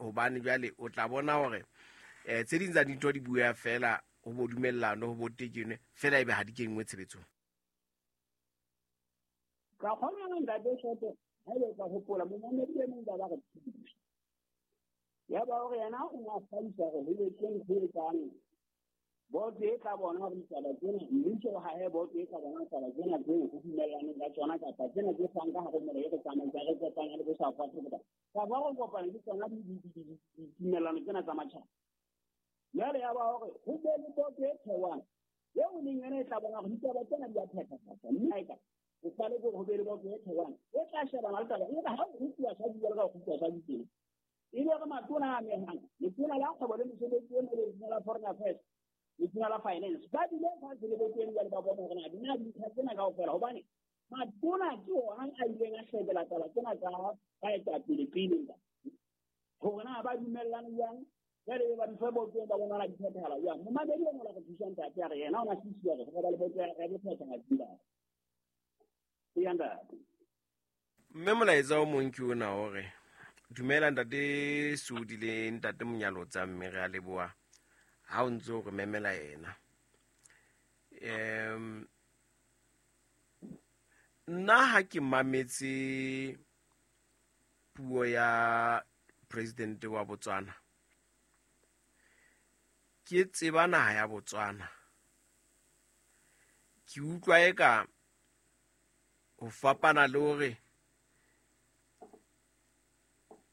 Hobane jwale o tla bona hore tse ding tsa dintho di bua fela ho bo dumellano ho bo tekenwe fela ebe ha di kenngwe tshebetsong. Ka kgona ntate Soto, ha ebe ka hopola momamedi e mong ba ba re thusa. Ya ba hore yena o na hlalosa hore ho etseng ho etsang boto e tla bona hore ditaba tsena mmuso o hahe boto e tla bona ditaba tsena tseo ho dumellaneng ka tsona kapa tsena tse fang ka hare molao e re tsamaisa re kopanya le bo South Africa kapa re kopanya le tsona ditumellano tsena tsa matjhaba. Jwale ya ba hore ho be le boto e thewang eo leng yona e tla bona hore ditaba tsena di a phethahatswa, mme ha eka o fale ke ho be le boto e thewang e tla shebana le taba e re ha o kgutluwa sa jwalo ka ho kgutluwa sa tjena. Ebe re matona a amehang, letona la kgwebo le mesebetsi e mele, letona la foreign affairs, letona la finance, ba dule fatshe le boto eno jwale ba bone hore na di na dintlha tsena kaofela, hobane matona ke ona a ileng a shebela taba tsena tsa baetapele pele hore na ba dumellane jwang. Jwale ba di fe boto ba bona di phethahala jwang. Momamedi o mola re thusa ntate a re yena o na sisiwa hore ba le boto ya bophethahatsi ba. Eya ntate. Mme molaetsa o mong ke ona hore dumela ntate Sodi le ntate Monyalotsa, mme re a leboha ha o ntse o re memela yena. Nna ha ke mametse puo ya president wa Botswana, ke tseba naha ya Botswana, ke utlwa eka ho fapana le hore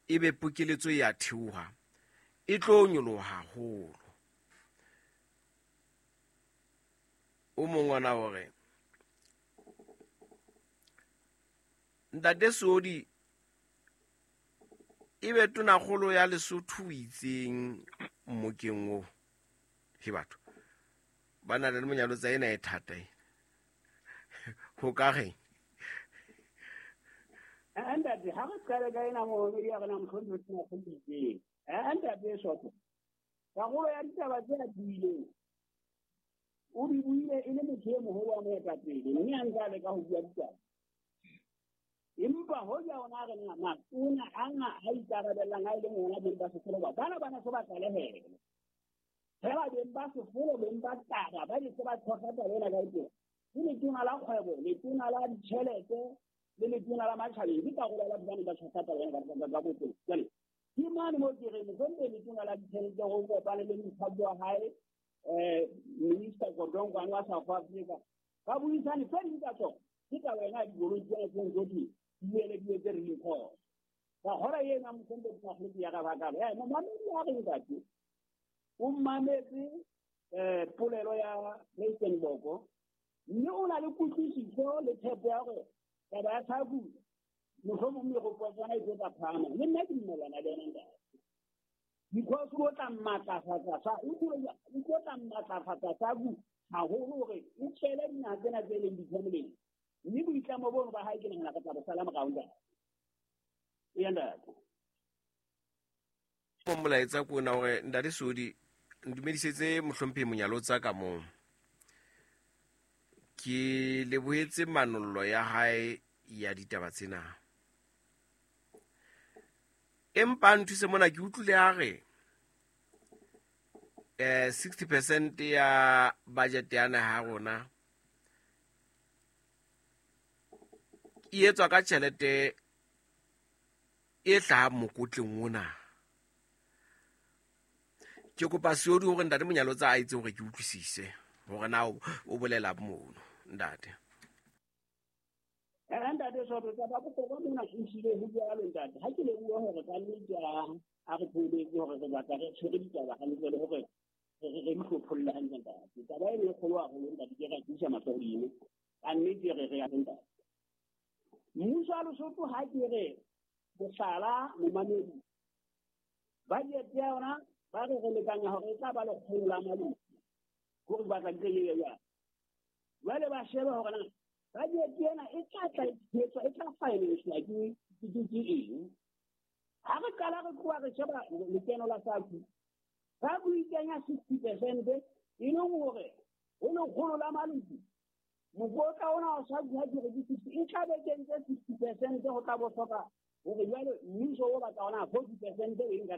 ebe pokeletso ya theoha e tlo nyoloha haholo. O mong ona hore ntate Sodi ebe tonakgolo ya Lesotho o itseng mmokeng oo. He batho ba na le Monyalotsa ena e thata e. Ho ka reng? Ntate, ha re qale ka ena momamedi ya rena mohlomong o tena go itseng. Ntate Soto, karolo ya ditaba tse a buileng, o di buile e le motho e moholo wa moetapele, mme a ntse a leka ho bua ditaba. Empa hoja ona re na matona ana a ikarabellang a e leng ona beng ba sefolo ba bana ba ne se ba tlalehele. Fela beng ba sefolo, beng ba taba, ba ne se ba tshohla taba ena ka teng. Ke letona la kgwebo, letona la ditjhelete, le letona la matjhabeng, ke karolo ya batho ba neng ba tshohla taba ena ka boteng. Jwale, ke mane moo ke reng mohlomong letona la ditjhelete ho kopane le mokgatlo wa hae, Minister Godongwana wa South Africa, ba buisane tse ding tsa tsona. Ke taba ena ya dikoloi tsena tse ntse di buele di etse re diphoso. Ka kgora ena mohlomong ke tla ya ka baka. Momamedi ya re ntate, o mametse polelo ya President Boko, mme o na le kutlwisiso le tshepo ya hore taba ya tlhaku mohlomong megopolo ya tsona e tlo tla phahama. Le nna ke dumellana le yena ntate. Because o tla matlafatsa sa, o tlo tla matlafatsa tlhaku haholo hore o tshele dinaha tsena tse leng ditlhomeleng. Mme boitlamo bono ba hae ke nahana re tla bo sala morao ntate. Eya ntate. Mo molaetsa ko ona hore ntate Sodi ntumedisetse mohlomphehi Monyalotsa ka moo. Ke lebohetse manollo ya hae ya ditaba tsena. Empa nthuse mona ke utlwile a re 60% ya budget ya naha ya rona e etswa ka tjhelete e hlahang mokotleng ona. Ke kopa Seodi hore ntate Monyalotsa a etse hore ke utlwisise hore na o bolela mono ntate. Ntate Soto, taba ya bohlokwa mona e hlile ho jwalo ntate. Ha ke leboha hore ka nnete a re thooletse hore re batla re tshwere ditaba hantle le hore re di hlopholle hantle ntate. Taba eno e kgolo haholo ntate, ke ra tiisa mahlo hodimo. Ka nnete re re ya ntate. Mmuso wa Lesotho ha ke re mohlala momamedi, budget ya yona ba re re lekanya hore e tla ba lekgolo la maloko, hore batla di tle e ye jwang. Jwale ba shebe hore na budget ena e tla tla e tshehetswa, e tla finance-wa ke eng. Ha re qala re tloha re sheba lekeno la SACU, SACU e kenya 60% e leng hore ho lekgolo la maloko, mokotla ona wa SACU ha ke re ke 60, e tla be kentse 60% ho tla bo hloka hore jwale mmuso o batla hona 40% o e nka